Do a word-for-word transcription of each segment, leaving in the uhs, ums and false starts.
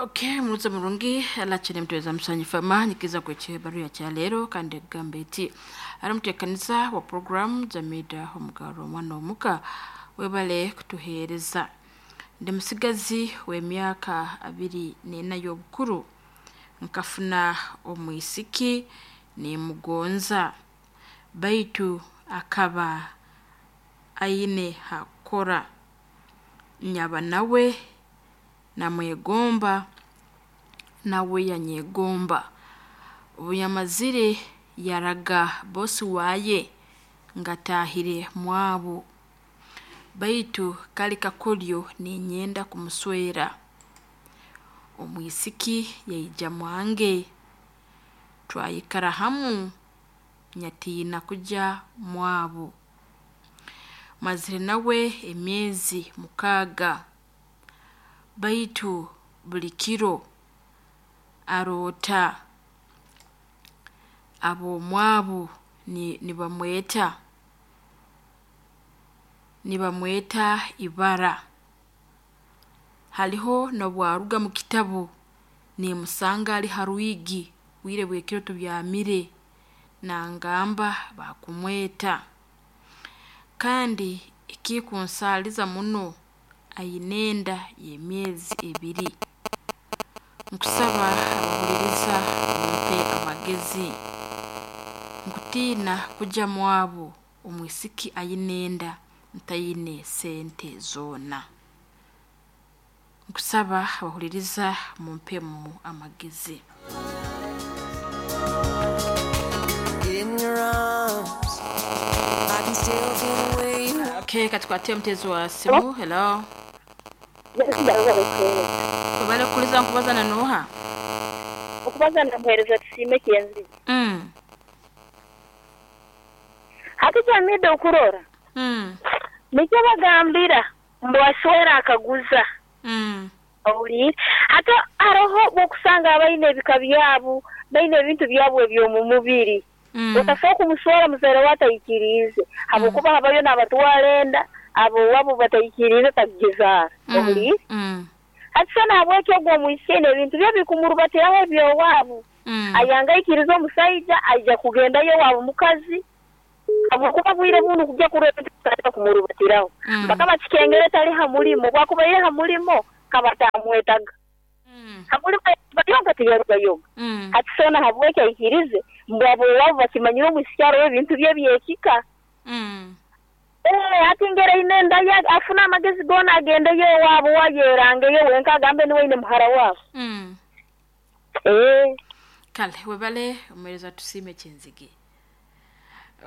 Okay, muruza murungi alachene mtuweza msanyifa manyikiza kweche baru ya leero kandi egamba eti ari muteekaniza wa program Jamida omugaro omwana omuka webale kutuheereza. Ndi musigazi w'emyaka abiri n'ena y'obukuru, nkafuna omwisiki nimugonza, baitu akaba aine hakukora, nyaba nawe namwegomba nawe yanyegomba. Obu yamazire yaraga bosi waye ngatahire mwabu, baitu kali kakoryo ninyenda kumuswera. Omwisiki yaija mwange twayikara hamu nyatiina kugya mwabu. Mazire nawe emyeezi mukaaga, baitu buli kiro aroota abomwabu nibamweeta, nibamweeta ibara. Hariho nobwaruga mukitabu nimusanga ari harwiigi obwiire bwekiro tubyaamire nangamba bakumweeta, kandi ekikunsaaliza muno ayine enda y'emyeezi ebiri. Nkusaba abahuliiriza mumpe amagezi, nkutiina kujya mwaabo omwisiki ayine enda ntaine sente zoona. Nkusaba abahuliiriza mumpemu amagezi. In your arms, I can still feel the way you Okay, katukwate omuteezi wa simu. Hello. Webale kukuliza nkubaza na noha? Okubaza namuheereza Tusiime Kyenzige. Mm. Hati Jamida okurora Mm. nikyo bagambira mbu aswera akaguza Mm. owuliire. Hati haroho bwokusanga abaine ebika byabu, baine ebintu byabu eby'omu mubiri, Mm. otasobola kumuswera muzaire we ataikiriize habwokuba habayo n'abatwara enda ab'owaabo bataikiriize takugizaara, owuliire. Mm. Hati so nahabweki ogu omwisiki aine ebintu bye bikumurubatiraho eby'owaabu, Mm. ayanga aikirize omusaija aija kugendayo owaabu mukazi habwokuba bwire bunu kujya kurora ebintu bitandika kumurubatiraho. Mm. Mpaka bakikengere tali ha mulimo, obwakubaire ha mulimo kaba atamwetaga. Mm. Ha mulimo yarugayoga tiyarugayoga. Mm. Hati so nahabweki aikirize mbu ab'owaabo bakimanyire omwisiki haroho ebintu bye eby'ekika. Mm. Ee, hati ngeri aine enda ye afune amagezi goona agendeyo owaabo wayerangeyo wenka agambe niwe aine muhara waabo. Mm. Ee. Kale webale omuheereza Tusiime Kyenzige.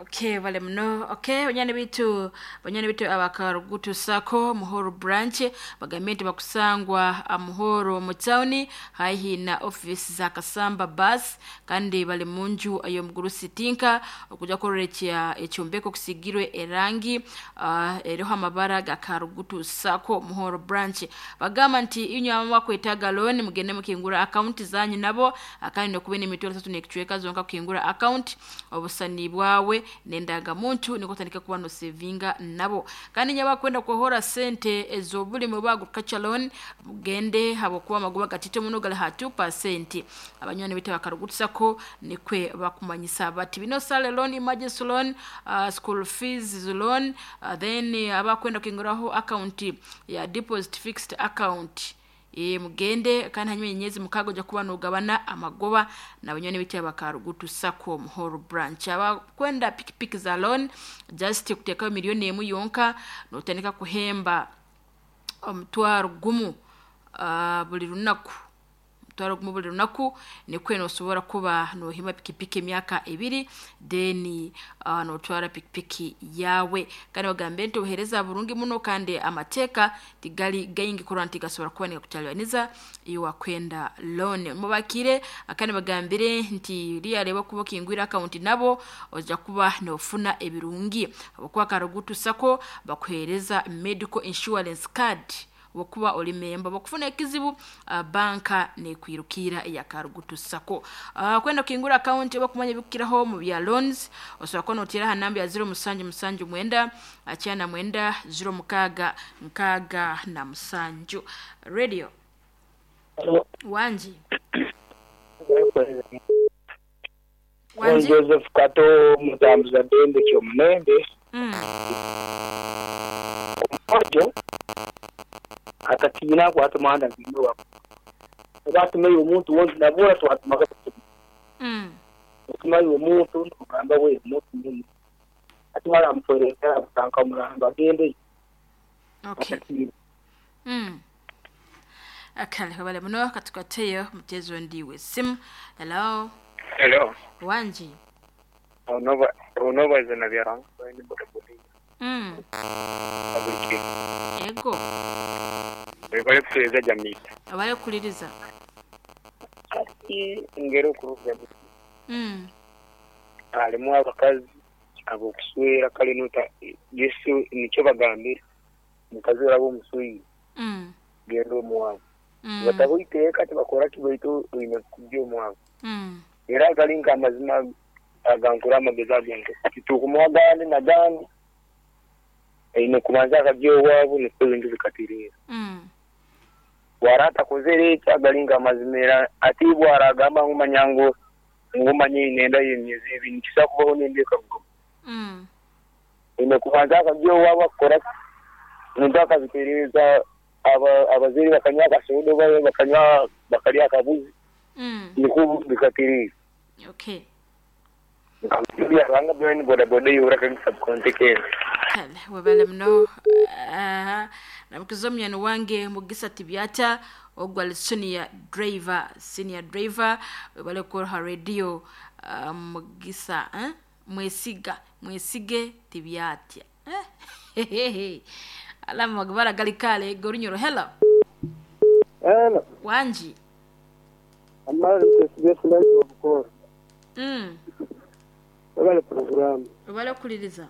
Okay, bale muno. Okay, banyani bitu banyani bitu abakarugutu sako Muhoro branch bagambye nti bakusangwa Muhoro mu town haihi na office za Kasamba bus, kandi bali munju ey'omugurusi Tinka okuja kororekya ekyombeko kusigirwe erangi uh, eriho amabara ga Karugutu Sako Muhoro branch. Bagamba nti inywe abamu bakwetaaga loan mugende mukingura account zanyu nabo, kandi nokuba n'emitwaro esatu n'ekicweka zonka kukingura account obusani bwawe n'endagamuntu niko otandika kuba nosevinga nabo. Kandi nyaba kwenda kuhora sente ez'obulimi oba agriculture loan mugende habwokuba amagoba gatito muno gali ha two percent. Abanywani bitu abakarugutu Sako nikwe bakumanyisa bati bino sale loan, emergency loan, uh, school fees loan, uh, then abakwenda kukinguraho account ya deposit fixed account. E, mugende kandi hanyuma enyezi mukaaga ojja kuba nogabana amagoba nabanywani bitu abakarugutu Sako Muhoro branch. Abakwenda pikipiki za loan just kuteekayo miliyoni emu yonka notandika kuhemba omutwaro gumu uh, buli lunaku, omutwaro gumu buli lunaku nikwe nosobora kuba nohima pikipiki emyaka ebiri then uh, notwara pikipiki yawe. Kandi bagambe nti obuheereza burungi muno kandi amateeka tigali gaingi kurora nti gasobora kuba nigakutalibaniza iwe wakwenda loan. Mubakire kandi bagambire nti riyareba kuba okingwire account nabo ojja kuba nofuna ebirungi habwokuba Karugutu Sako bakuheereza medical insurance card wokuba oli memba bakufuna ekizibu uh, banka nekwirukira eya Karugutu Sako. Uh, kwenda kukingura account oba kumanya ebikukiraho mu bya loans osobola kuba noteera ha namba ya zero musanju musanju mwenda akyana mwenda zero mukaaga nkaaga na musanju. Radio. Wanji. Wanji. Joseph Kato mutambuza dembe kyomunembe. Mm. Ojo atatiina kwata muhanda ngwino wako. Obatumeyo omuntu wonzi nabura twatumaga. Mm. Otumayo omuntu nogamba we omuntu mumu. Atumara amutwereka abutanka omuramba agende. Okay. Atatiina. Mm. Akale wale muno katukateyo mchezo ndiwe simu. Hello. Hello. Wanji. Onova onova zina byaranga ni boda boda. Mm. Abulike. Ego. Bale kuweza jamii. Abale kuliriza. Ati ngero kuruga. Mm. Alimu abakazi abo kuswera kale nota Yesu nicyo bagambira. Mukazi orabo musuyi. Mm. Gendo muwabu. Mm. Batabuiteka tibakora kibaitu ine kubyo muwabu. Mm. Era galinka amazima agankura amagezi agenge. Kitukumwagani nagani. Ine kumanza akabyo wabu niko bintu bikatirira. Mm. Warata kozere agalinga amazimera atibwa aragamba ngumanyango ngumanye inenda yemyezi ibiri kisa kubaho nendeka kugo. Mm. Ine kumanza akabyo wabu akora ndaka bitereza aba abazeri bakanywa kasodo bayo bakanywa bakalya akabuzi. Mm. Niko bikatirira. Okay. Nkamubya ranga byo boda boda yura kan subcontinent. Kale wabale mno aha namukizomya wange mugisa tibyata ogwa senior driver senior driver wabale ko ha radio uh, mugisa eh? Mwesiga mwesige tibyatya eh? Alama gbara galikale gorunyoro. Hello. Hello. Wanji. Amara mtesibe bukoro. Mm. Wabale program. Wabale kuliriza.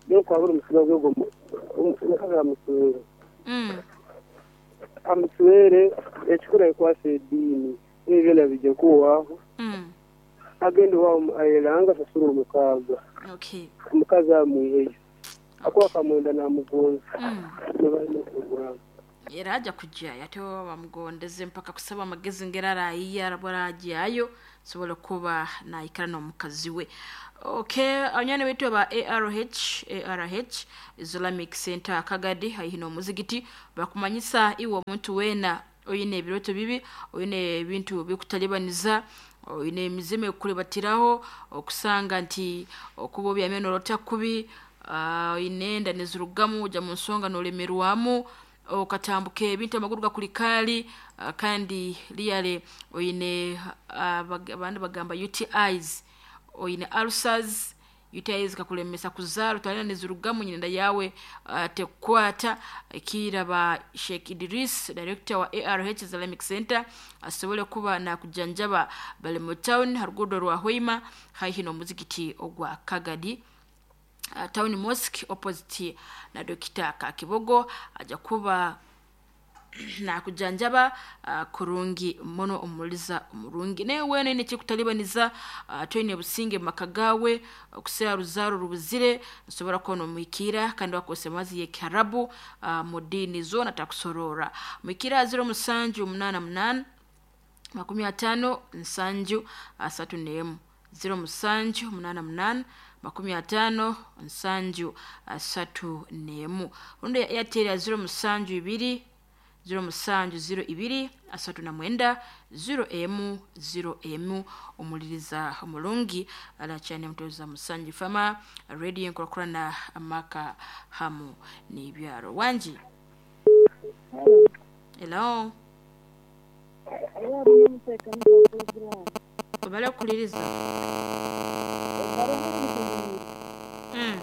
Yo kwa buri musiba gwo umukaga muswere. Mm. Amuswere ekikura kwase dini. Ebyo nabije kuwaho. Mm. Agende wa ayelanga sasura umukaga. Okay. Umukaza muyeyo. Akwa kamwenda na mugonza. Mm. Wabale program. Era aja kujja yato bamugondeze mpaka kusaba amagezi ngera arayiya arabaragiyayo sobola kuba naikara n'omukazi we. Okay, abanyana betu ba A R H A R H Islamic Center Kagadi haihi n'omuzigiti bakumanyisa iwe omuntu wena oyine ebiroto bibi oyine ebintu bikutalibaniza oyine emizimu ekulibatiraho okusanga nti okuba obyameno orota kubi uh, oyine nezirugamu ojja mu nsonga n'olemerwamu okatambuka ebintu amaguru gakulikali uh, kandi liyale oyine uh, abandi bagamba U T Is oyine ulcers U T Is kakulemesa kuzaala twalina nezirugamu nyinda yawe uh, tekwata kiraba Sheikh Idris director wa A R H Islamic Center asobole kuba na kujanjaba bali mu town harugudo rwa Hoima haihi n'omuzigiti ogwa Kagadi Uh, town mosque opposite na Dokita Kakibogo aja kuba na kujanjaba uh, kurungi mono omuliza omurungi naye wene ne kikutalibaniza uh, twine businge makagawe okusea ruzaro rubuzire nsobora kono mwikira kandi wakose mazi ye Kiarabu uh, mudini zona takusorora mwikira zero musanju munana munana makumi atano nsanju asatu nemu zero musanju munana munana makumi atano nsanju asatu nemu rundi Airtel ya zero musanju ibiri zero musanju zero ibiri asatu na mwenda zero emu zero emu omuliriza omulungi alachane mtoza musanju fama radio enkorakorana amaka hamu n'ibyaro. Wanji. Hello. Obale kuliriza. Mm.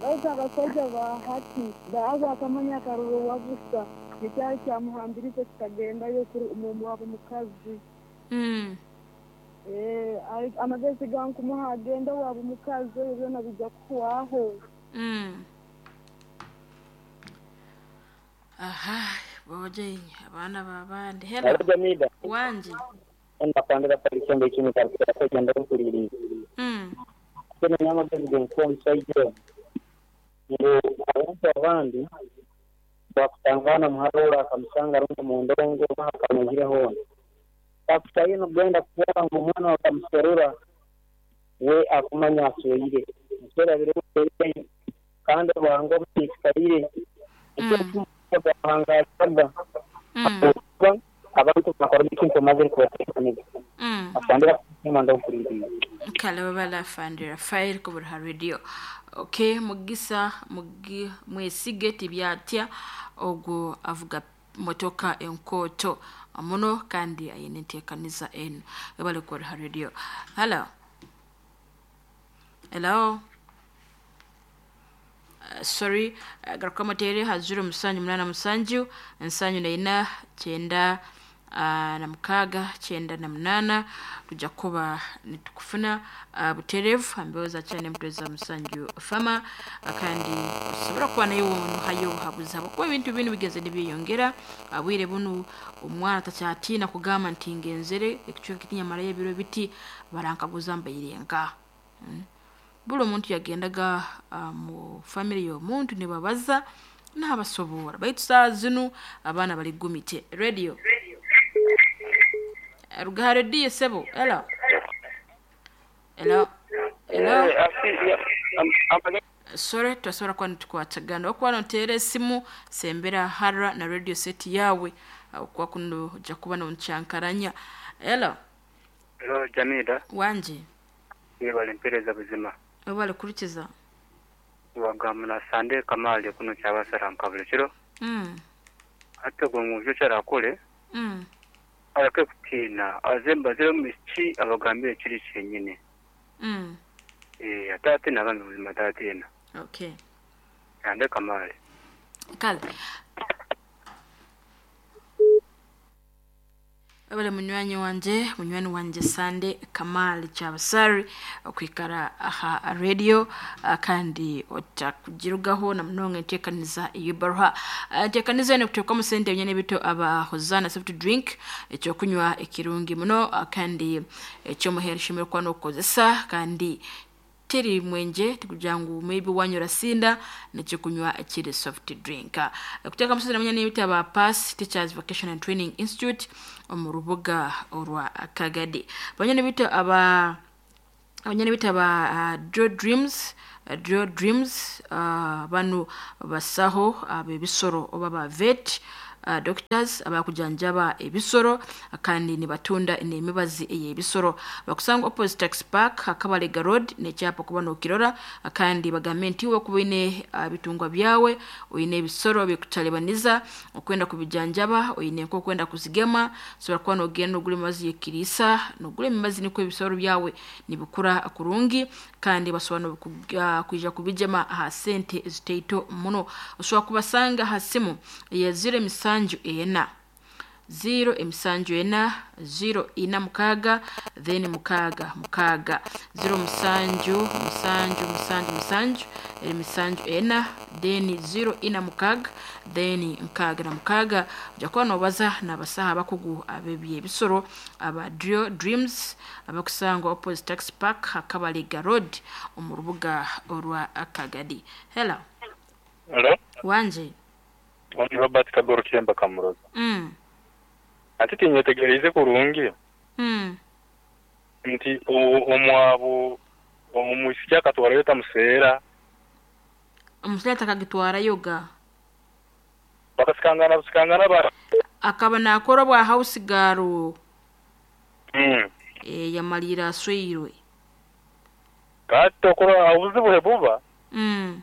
Baitu abasajja ba hati baaza akamanya akaruru wabusa ekyali kyamuhambiriza kikagendayo kuri omu wabo mukazi. Mm. Eh, amagezi gankumuha agenda wabo mukazi byona bijja kuwaho. Mm. Aha, boje abana babandi. Hello. Jamida. Wanji. Ndakandira palisembe kimi karikira kugenda kuriri. Mm. Kuna nyama gazi genko msaidia. Ngo abantu abandi Bakutangana muharura akamusanga rundi mu ndongo akamugire hona. Takutaino genda kuona ngo omwana wakamuserura we akumanya asweire. Musera bire kandi bwango busikarire. Mm. Ekyo Mm. abantu bakora ekintu omazire kubateekaniza. Mm. Asandira kusema ndakukulindira. Kale babala fandi Rafael kubura radio. Okay, mugisa mugi mwesige tibyatya ogwo avuga motoka enkoto muno kandi ayine enteekaniza eno ebale kubura radio. Hello. Hello. Uh, sorry uh, garuka mutere ha zero musanju munana musanju nsanju na ina kyenda uh, na mukaaga kyenda na munana tujja kuba nitukufuna uh, buterevu ambeho cyane mutweza musanju fama uh, kandi osobola kuba naye wonuhayo obuhabuzi habwokuba ebintu binu bigeze nibyeyongera abwire bunu omwana takyatiina kugamba nti ngenzere ekicweka kitinyamarayo ebiro biti barankaguza mbaire nka mm. Buli omuntu yagendaga uh, mu family y'omuntu nibabaza n'abasobola baitu saa zinu abaana bali gumite radio rugaha rediyo sebo hello hello hello sorry twasobola kuba nitukwatagana okuba noteera esimu sembera hara na radio set yawe okuba kuno ojja kuba nonkyankaranya hello. Hello Jamida. Wanje. Yebale mpereza buzima. Webale kurikiza. Wagamuna Sande Kamali kuno kyabasara nkabule kiro. Mm. Ate gwe muvyo kyarakole. Mm. Aleke kutiina azemba zero miki abagambire kiri kyenyine. Mm. Eh ate ate nabambi buzima ate Okay. Sande Kamali. Kale. Abale munywanyi wanje munywani wanje Sande Kamali Kyabasari okwikara aha radio kandi otakugirugaho na munonga enteekaniza ey'ebbaruha enteekaniza eno kuteekwamu sente ebinyana bito aba Hosana soft drink ekyokunywa ekirungi muno kandi ekyomuhero shemere kuba n'okukozesa kandi teri mwenje tikugira ngu maybe wanyura sinda nekyokunywa ekiri soft drink kuteeka musozi namanya n'ebita ba pass Teachers Vocation and Training Institute omu rubuga orwa Kagadi banyana bita aba abanyana bita ba uh, Draw Dreams uh, Draw Dreams uh, banu basaho ab'ebisoro oba ba vet Uh, doctors abakujanjaba ebisoro kandi nibatunda n'emibazi ey'ebisoro bakusanga opposite tax park akabalega road nekyapa kuba nokirora kandi bagambe nti wakuba oine uh, bitungwa byawe oine ebisoro bikutalibaniza okwenda kubijanjaba oine nk'okwenda kuzigema sobola kuba nogenda nogura emibazi y'ekiriisa nogura emibazi nikwo ebisoro byawe nibikura kurungi kandi basobola uh, kwija kubijema aha sente ezitaito muno osobola kubasanga aha simu ya zero emisanju ena zero emisanju ena zero ina mukaaga then mukaaga mukaaga zero musanju musanju musanju musanju emisanju ena then zero ina mukaaga then nkaaga na mukaaga ojja kuba nobaza n'abasaha abakugu ab'ebyebisoro aba Draw Dreams abakusangwa opposite tax park akabalega road omu rubuga orwa Kagadi. Hello. Hello. Wanje. Oni Robert Kagoro Kiremba Kamuroza. Mm. Ate tinyetegereze kurungi. Mm. Nti omwabo omwisiki akatwarayo tamuseera. Omusajja atakagitwarayo ga. Bakasikangana busikangana ba akaba nakora bwa house girl. Mm. E, yamalira asweirwe. Kati okora obuzibu buba. Mm.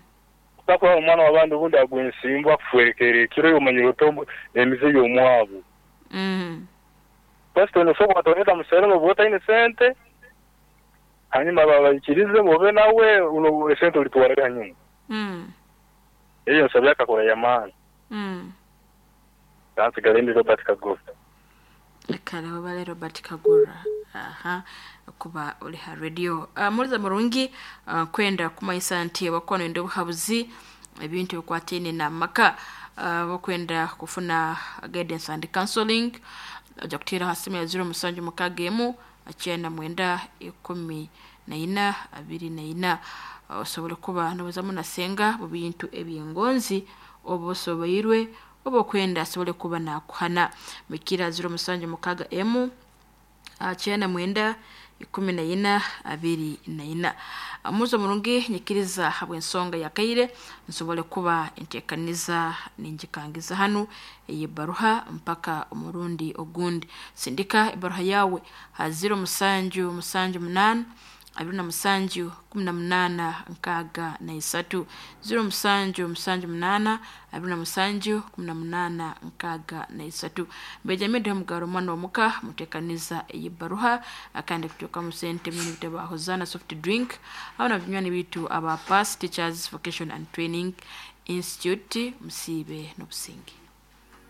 Takwa omwana w'abandi ubundi agwa ensimbu akufurekere ekiro yomanyire ota emize y'omwabo. Mm. Pastor nosobola kutoneta museera noba otaine sente hanyuma babaikirize bobe nawe uno esente olitwara hanyuma. Mm. Eyo nsabye akakora yamaani. Mm. Kansigale ndi Robert Kagura. Kale wabale Robert Kagura. Aha kuba oli ha radio. Uh, muliza murungi uh, kwenda kumaisa nti wakono ndo buhabuzi ebintu bikwatene na maka uh, bakwenda kufuna guidance and counseling ojja kutera hasimu ya zero musanju mukaaga emu akyenda mwenda ikumi na ina abiri na ina osobola kuba nobuzamu nasenga mu bintu ebyengonzi Oba osoboirwe, oba okwenda asobole kuba nakuhana. Mikira ziro musanju mukaga emu ah, kyenda mwenda ikumi na ina abiri na ina. Muzo murungi, nyikiriza habw'ensonga yakaire nsobole kuba enteekaniza ningikangiza hanu ey'ebbaruha mpaka omurundi ogundi. Sindika ebbaruha yawe ha ziro musanju musanju munaana abiri na musanju kumi na munaana nkaaga na isatu, ziro musanju musanju munaana abiri na musanju kumi na munaana nkaaga na isatu. Benjamin Mugaro omwana w'omuka muteekaniza ey'ebbaruha akandi kuteekamu sente munywani bitu aba Hosanna soft drink abo na binywani bitu aba Pass Teachers Vocation and Training Institute. Musiibe n'obusinge.